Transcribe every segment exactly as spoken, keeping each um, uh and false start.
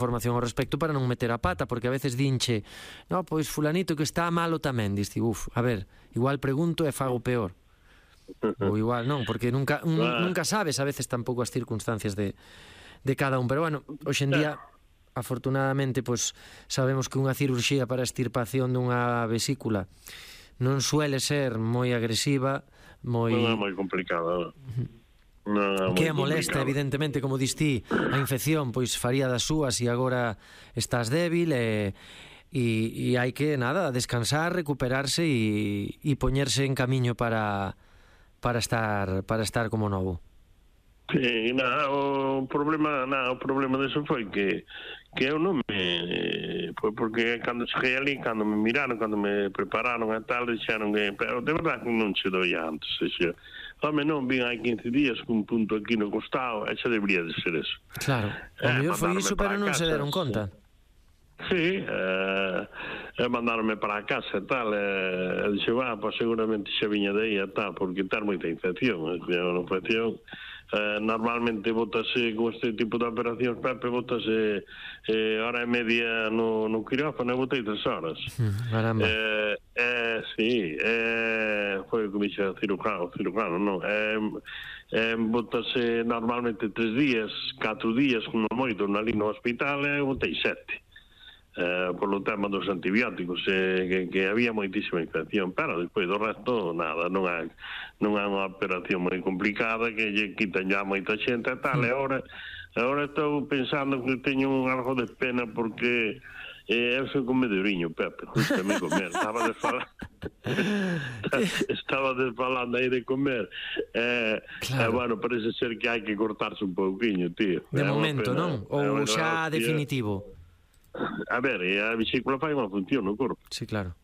información ao respecto para non meter a pata, porque a veces dinche, no, pois fulanito que está malo tamén, diste, uf, a ver, igual pregunto e fago peor. Ou igual non, porque nunca un, nunca sabes a veces tampouco as circunstancias de, de cada un, pero bueno, hoxe en día afortunadamente pois sabemos que unha cirurxía para a extirpación dunha vesícula non suele ser moi agresiva, moi non é moi complicada. No, que a molesta, evidentemente, como distí, a infección pois faría das súas e agora estás débil e, e, e hai que, nada, descansar, recuperarse e, e poñerse en camiño para para estar para estar como novo. Sí, na, o problema, na, o problema deso foi que que eu non me foi porque cando cheguei ali, cando me miraron, cando me prepararon e tal, dixeron que, pero de verdade que non che doi antes, xe. Home, non, vin hai quince días cun punto aquí no costado, e xa debería de ser eso. Claro, o eh, mellor foi iso, pero non se deron conta. Sí, eh, e mandaronme para a casa e tal, e eh, dixe, va, pois seguramente xa viña de aí e tal, porque ter moita infección, é unha infección. Eh, normalmente botase con este tipo de operacións, Pepe, botase eh, hora e media no, no quirófano e botei tres horas. Caramba. Eh, eh, sí, eh, foi o que me dixe cirujano, cirujano, non? Eh, eh, botase normalmente tres días, catro días, como moito, ali no hospital, e botei sete. Eh, polo tema dos antibióticos, eh, que, que había moitísima infección, pero despois do resto nada, non é non é unha operación moi complicada que lle quitan ya moita xente e tal, e agora agora estou pensando que teño un algo de pena porque eh, eu sou comedoriño, Pepe, justamente comer, estaba desfalando estaba desfalando aí de comer, eh, claro. E bueno, parece ser que hai que cortarse un pouquiño, tío. De é momento, pena, non? Ou xa definitivo? A ver, a vesícula fai unha función no corpo. Sí, claro.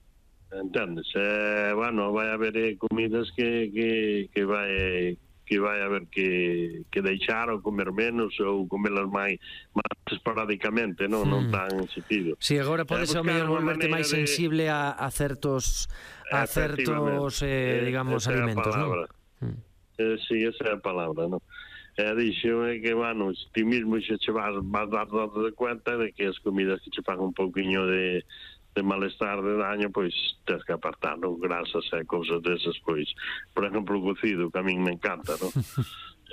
Entendes? Eh, bueno, vai haber eh, comidas que, que, que vai que vai haber que, que deixar ou comer menos ou comelas máis máis esporádicamente, non, mm. non tan sentido. Si, sí, agora podes eh, ao mellor volverte máis de... sensible a, a certos a certos, eh, digamos, alimentos, non? Mm. Eh, si, sí, esa é a palabra, non? E dixo é que, bueno, ti mismo xe che vas, vas dar dado de cuenta de que as comidas que che fan un pouquiño de, de malestar, de daño, pois tens que apartar, non? Grasas e cousas desas, pois, por exemplo, o cocido, que a min me encanta, non?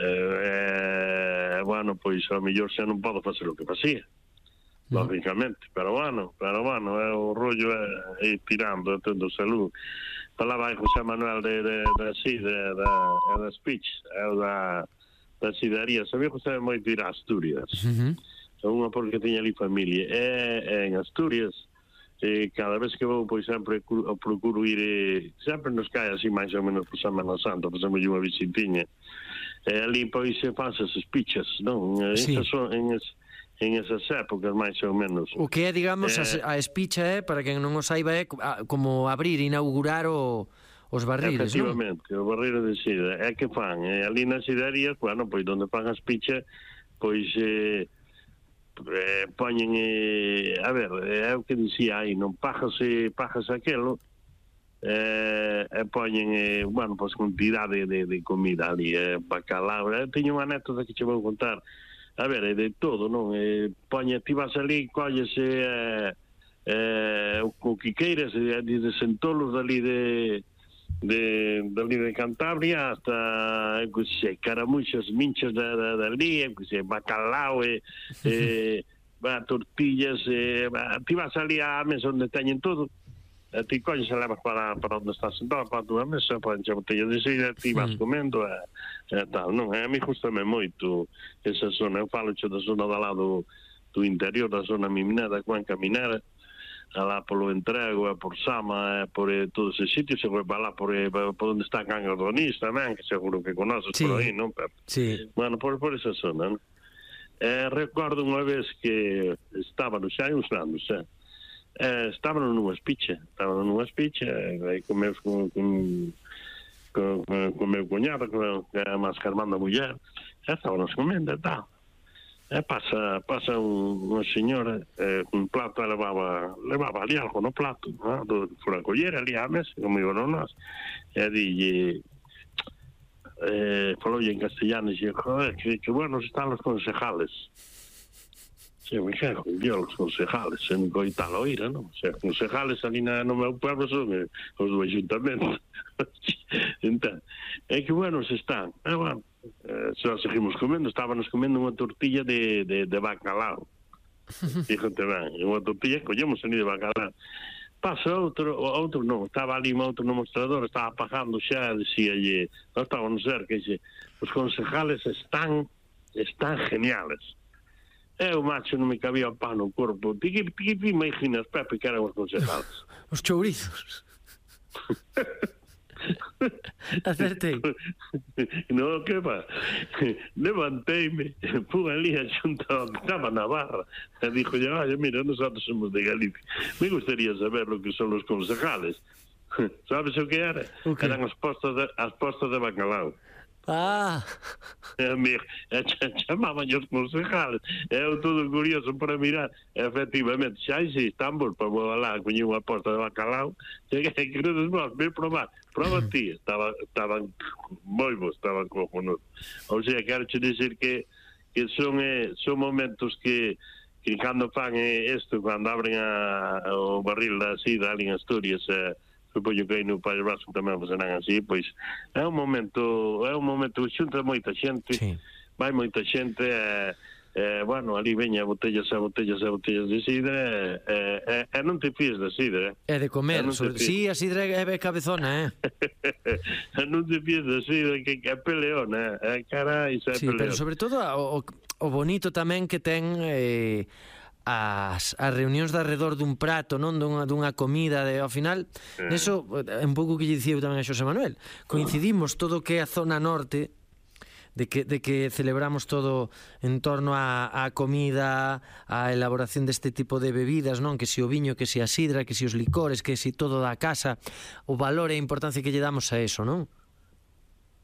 eh, bueno, pois, ao mellor xa non podo facer o que facía, lógicamente, pero bueno, pero bueno, é o rollo é ir tirando, tendo salud. Falaba José Manuel de, de, de, así, de, de, de, de speech, é o da da sidaría, sabía que estaba moito ir a Asturias, uh-huh. Unha porque tiña ali familia, e, e en Asturias, e cada vez que vou, pois sempre procuro ir, e, sempre nos cae así máis ou menos por Semana Santa, por exemplo, unha visitiña, e ali pois se faz esas pichas, non? Sí. Esas son, en, es, en esas épocas máis ou menos. O que é, digamos, eh, a espicha é, para quen non o saiba, é como abrir, inaugurar o... os barriles, efectivamente, non? O barril de sida. É que fan, eh, ali nas siderías, bueno, pois onde fan as pichas, pois eh, eh, poñen, eh, a ver, é o que dicía aí, non pajas e pajas aquelo, eh, e poñen, eh, bueno, pois cantidade de, de comida ali, eh, bacalao. Eh, teño unha anécdota que che vou contar, a ver, é de todo, non? Eh, poñe, ti vas ali, collese eh, eh, o que queiras, eh, de sentolos dali de de dali de Cantabria hasta, que sei, caramuxas, minchas da, da, dali, que sei, bacalao e, e va, tortillas, e, va, ti vas ali á mesa onde teñen todo, e ti colles e levas para, para onde estás sentado, para a tua mesa, para encher botellas de sida, ti vas comendo e, e tal, non? E a mí gustame moito esa zona, eu falo da zona da lado do interior, da zona miminada, Cuenca Minera, alá polo Entrego, e por Sama, e por eh, todos esos sitios, e vai lá por, eh, por onde está Cangas do Anís tamén, que seguro que conoces, sí, por aí, non, Pepe? Sí. Bueno, por, por esa zona, non? Eh, recordo unha vez que estábamos xa uns anos, eh, eh, estábamos nunha espicha, estábamos nunha espicha, e comemos con, con, con, con, con meu cuñado, que é a máis carmanda muller, e estábamos comendo e tal. E pasa, pasa un, unha señora, eh, un plato, levaba, levaba ali algo no plato, ¿no? Fora a coller ali á mesa, como iban nós, e dille, eh, faloulle en castellano, e dixo, joder, que, que buenos están los concejales. Sí, me cago en Dios, os concejales, en coitalo oíra, non? O sea, concejales ali na, no meu pueblo son eh, os do ayuntamiento. Entón, é que buenos están. Ah, bueno, eh, só seguimos comendo, estábamos comendo unha tortilla de, de, de bacalao. Fíjate ben, unha tortilla, collemos ali de bacalao. Pasa outro, outro non, estaba ali outro no mostrador, estaba pagando xa, decíalle, non estábamos cerca, dixe, os concejales están, están geniales. Eu, macho, non me cabía o pan no corpo. Ti que te imaginas, Pepe, que eran os concejales? Os chourizos. Acertei. No, que va? Levanteime, fui ali a xunta que estaba na barra e dixo, oye, mira, nosotros somos de Galicia. Me gustaría saber lo que son los concejales. Sabes o que era? Okay. Eran as postas de, as postas de bacalao. Ah. E a mí, chamaban os concejales. Eu todo curioso para mirar. Efectivamente, xa existe Istambul, para vou lá, coñi unha posta de bacalao. Cheguei, queredes vos, ven probar. Proba ti. Estaba, estaban moi bons, estaban cojonudos. O sea, quero che dicir que, que son, eh, son momentos que, que cando fan isto, cando abren a, o barril da sida ali en Asturias, eh, supoño que aí no País Vasco tamén serán así, pois é un momento, é un momento que xunta moita xente, sí. Vai moita xente, e, eh, bueno, ali veña botellas e botellas e botellas de sidra, e, e, e non te fíes da sidra. É de comer, sobre... sí, a sidra é cabezona, eh? E non te fíes da sidra, que é peleona, eh? Carai, é sí, peleona. Pero sobre todo o, o bonito tamén que ten... Eh... as, as reunións de arredor dun prato, non dunha, dunha comida de, ao final, eh. Eso é un pouco que lle dicía eu tamén a Xosé Manuel, coincidimos todo o que é a zona norte de que, de que celebramos todo en torno a, a comida, a elaboración deste tipo de bebidas, non? Que si o viño, que si a sidra, que si os licores, que si todo da casa, o valor e a importancia que lle damos a eso, non?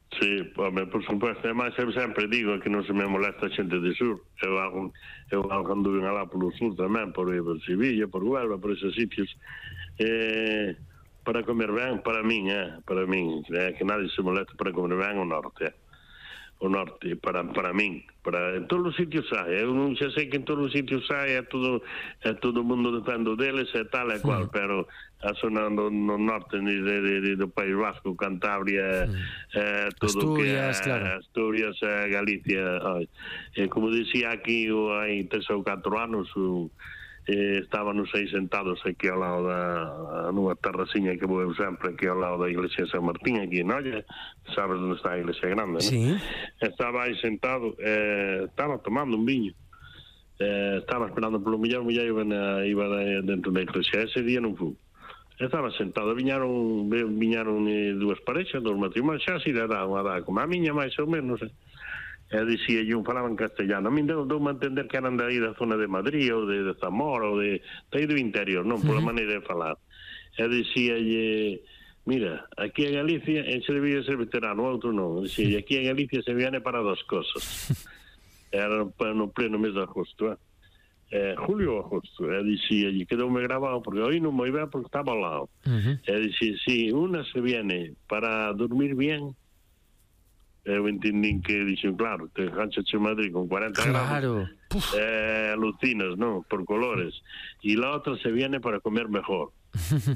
Sí, home, por supuesto, además eu sempre digo que non se me molesta a xente de sur. Eu hago, eu hago cando ven alá polo sur tamén, por, por Sevilla, por Huelva, por esos sitios, eh, para comer ben, para min, eh, para min, eh, que nadie se molesta para comer ben o norte, eh. O norte, para, para min, para, en todos os sitios hai, eu non xa sei que en todos os sitios hai, é todo, é todo o mundo defendo deles, é tal e cual, sí. Pero a zona no, no norte de, de, de, do País Vasco, Cantabria, sí. eh, todo Asturias, que é, claro. Asturias, eh, Galicia, eh, como dicía aquí, hai tres ou catro anos, o, eh, estábamos aí sentados aquí ao lado da nunha terraciña que vou sempre aquí ao lado da iglesia de San Martín, aquí en Olla, sabes onde está a iglesia grande, sí. ¿No? Estaba aí sentado, eh, estaba tomando un viño, eh, estaba esperando polo millón, o millón iba, na, iba dentro da iglesia, ese día non fui. Estaba sentado, viñaron, viñaron eh, dúas parexas, dos matrimonios, xa así de edad, unha edad, como a miña máis ou menos, eh. E dicía eu, falaban castellano. A min deu, deu a entender que eran de aí da zona de Madrid ou de, de Zamora ou de, de aí do interior, non? Pola maneira de falar. E dicíalle, mira, aquí en Galicia se debía ser veterano, outro non. Dicía, aquí en Galicia se viene para dos cosas. Era no pleno mes de agosto, eh? Eh, julio ou agosto. E dicíalle, quedoume grabado, porque hoy non moi ben porque estaba ao lado. Uh-huh. E dicía, sí, una se viene para dormir bien. Eu entendín que dixen, claro, te enganchas en Madrid con cuarenta claro. grados, eh, alucinas, ¿no? Por colores. Y la otra se viene para comer mejor.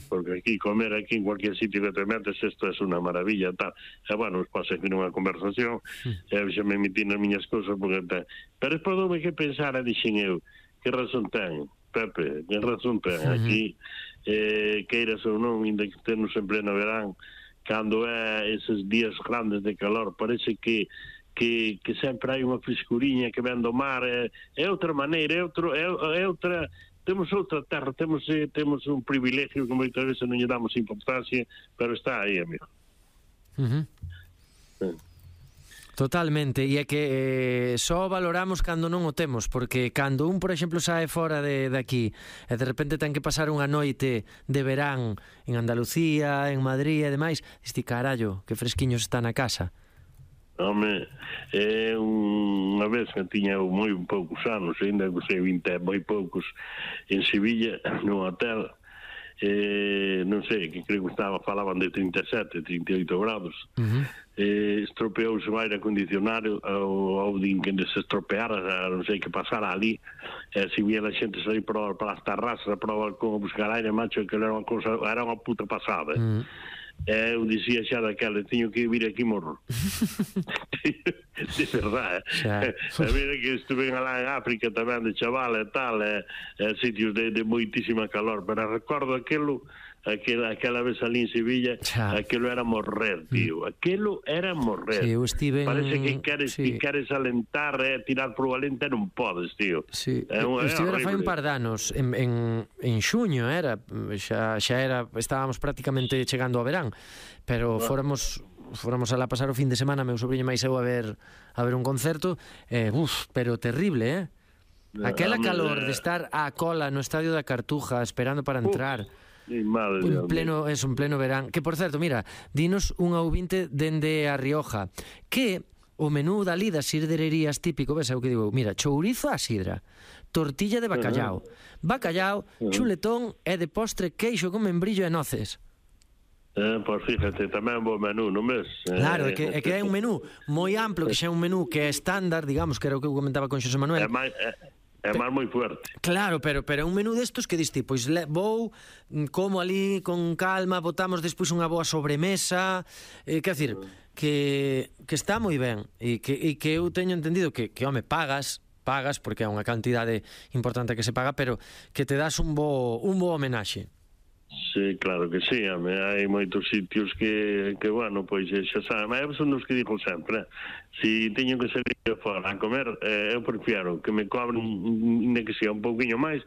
Porque aquí, comer aquí en cualquier sitio que te metes, esto es una maravilla, tal. E, bueno, despois aquí nunha conversación, e xa me metí nas miñas cosas, porque te... Pero despois doume que pensar, e dixen eu, que razón ten, Pepe, que razón ten. Aquí, eh, queiras ou non, ainda que estemos en pleno verán, cando é eses días grandes de calor, parece que que, que sempre hai unha frescuriña que ven do mar, é, é outra maneira, é, outro, é, é outra, temos outra terra, temos, temos un privilegio que moitas veces non lle damos importancia, pero está aí, amigo. Uh-huh. Sí. Totalmente, e é que eh, só valoramos cando non o temos, porque cando un, por exemplo, sae fora de, de aquí e de repente ten que pasar unha noite de verán en Andalucía, en Madrid e demais, diste, carallo, que fresquiños está na casa. Home, é unha vez que tiña moi poucos anos, ainda que sei vinte moi poucos, en Sevilla, nun hotel, eh, non sei, que creo que estaba, falaban de trinta e sete, trinta e oito graus, uh-huh. eh, estropeouse o aire acondicionado, ou, ou din que se estropeara, non sei que pasara ali, e eh, se vía a xente sair para, para as terrazas, para o balcón a buscar aire, macho, que era unha cosa, era unha puta pasada, uh-huh. Eh, eu dicía xa daquela, teño que vir aquí morro. De verdade, eh? A mira que estuve lá en África tamén de chaval e tal, eh, eh, sitios de, de moitísima calor, pero recordo aquelo, aquela, aquela vez ali en Sevilla, xa. Aquelo era morrer, tío, aquelo era morrer. Sí, eu estive en... Parece que queres, sí. que queres alentar, eh, tirar por o alente, non podes, tío. Sí, é un, eu estive é fai un par de anos, en, en, en xuño era, xa, xa era, estábamos prácticamente chegando ao verán, pero ah. fóramos... fóramos a lá pasar o fin de semana, meu sobrinho máis eu a ver a ver un concerto, eh, uf, pero terrible, eh? Aquela calor de estar á cola no estadio da Cartuja esperando para entrar. Un pleno, es un pleno verán. Que por certo, mira, dinos un ouvinte dende a Rioja, que o menú dali das sidrerías típico, ves, é o que digo, mira, chourizo a sidra, tortilla de bacallao, bacallao, chuletón e de postre queixo con membrillo e noces. Eh, pois fíjate, tamén bo menú, non ves? Claro, é que, é que é un menú moi amplo, que xa é un menú que é estándar, digamos, que era o que eu comentaba con Xosé Manuel. É máis, é, é máis moi fuerte. Claro, pero pero é un menú destos que diste, pois le, vou, como ali con calma, botamos despois unha boa sobremesa, eh, quer decir, que, que está moi ben, e que, e que eu teño entendido que, que home, pagas, pagas, porque é unha cantidade importante que se paga, pero que te das un bo, un bo homenaxe. Sí, claro que sí, hai moitos sitios que, que bueno, pois xa sabe, mas son dos que digo sempre, se teño que salir fora a comer, eh, eu prefiero que me cobren, nem que sea un pouquinho máis,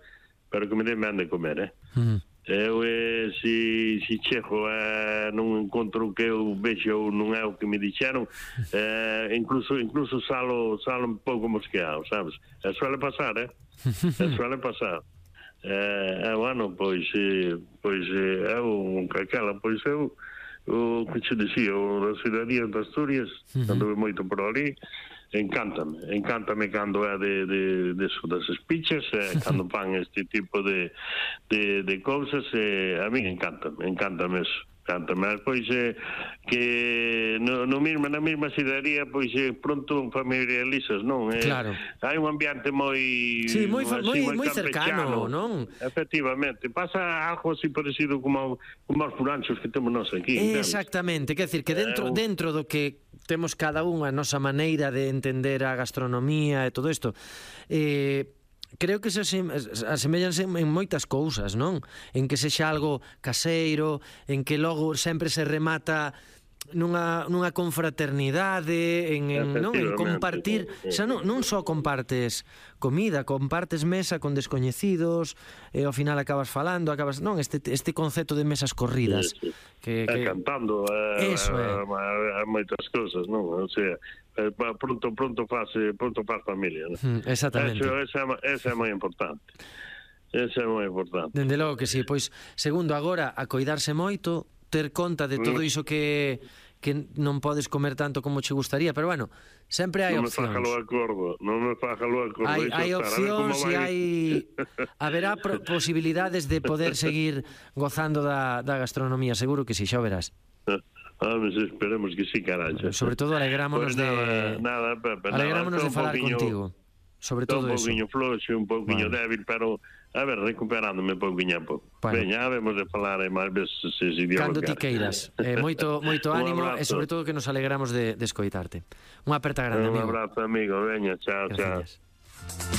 pero que me den ben de comer, eh? Mm. Eu, eh, se, se chego eh, non encontro o que eu vexo ou non é o que me dixeron, eh, incluso incluso salo, salo un pouco mosqueado, sabes? E suele pasar, eh? E suele pasar. Eh, eh, bueno, pois eh, pois eh, eu, aquela, pois eu o que che dicía, o das cidadías de Asturias, uh-huh. Anduve moito por ali, encántame, encántame cando é de, de, de eso, das espichas, eh, cando fan este tipo de, de, de cousas, eh, a mí encántame, encántame eso. Mas pois eh, que no, no mismo, na mesma cidadía pois eh, pronto familiarizas, non? Eh, claro. Hai un ambiente moi sí, moi, así, moi, moi cercano, non? Efectivamente, pasa algo así parecido como, como os furanchos que temos nós aquí. Exactamente, quer decir que dentro, eh, dentro do que temos cada un a nosa maneira de entender a gastronomía e todo isto, eh, creo que se asemellanse en moitas cousas, non? En que sexa algo caseiro, en que logo sempre se remata nunha, nunha confraternidade, en, en, non? En compartir, xa non, non só compartes comida, compartes mesa con descoñecidos, e ao final acabas falando, acabas, non, este este concepto de mesas corridas, sí, sí. que, que... que... cantando, eh, eso é. Eh, moitas cousas, non? O sea, eh, pronto pronto faz pronto faz familia, non? Mm, exactamente. Eso, esa, esa é moi importante. Esa é moi importante. Dende logo que sí, pois segundo agora a coidarse moito, ter conta de todo iso que que non podes comer tanto como che gustaría, pero bueno, sempre hai non opcións. Non me faja lo acordo, non me faja lo acordo. Hai, hai opcións e hai... haberá pro, posibilidades de poder seguir gozando da, da gastronomía, seguro que sí, xa verás. Ah, mas esperemos que sí, caralho. Sobre todo alegrámonos pues de... Nada, Pepe, alegrámonos nada, de falar poquinho, contigo. Sobre todo eso. Un pouquinho floxo, un pouquinho vale. débil, pero a ver, recuperándome pouquinho a pouco. Bueno. Veña, habemos de falar e máis veces se se dio cando ti queiras. Eh, moito moito ánimo e sobre todo que nos alegramos de, de escoitarte. Unha aperta grande, un amigo. Un abrazo, amigo. Veña, chao, Gracias. chao.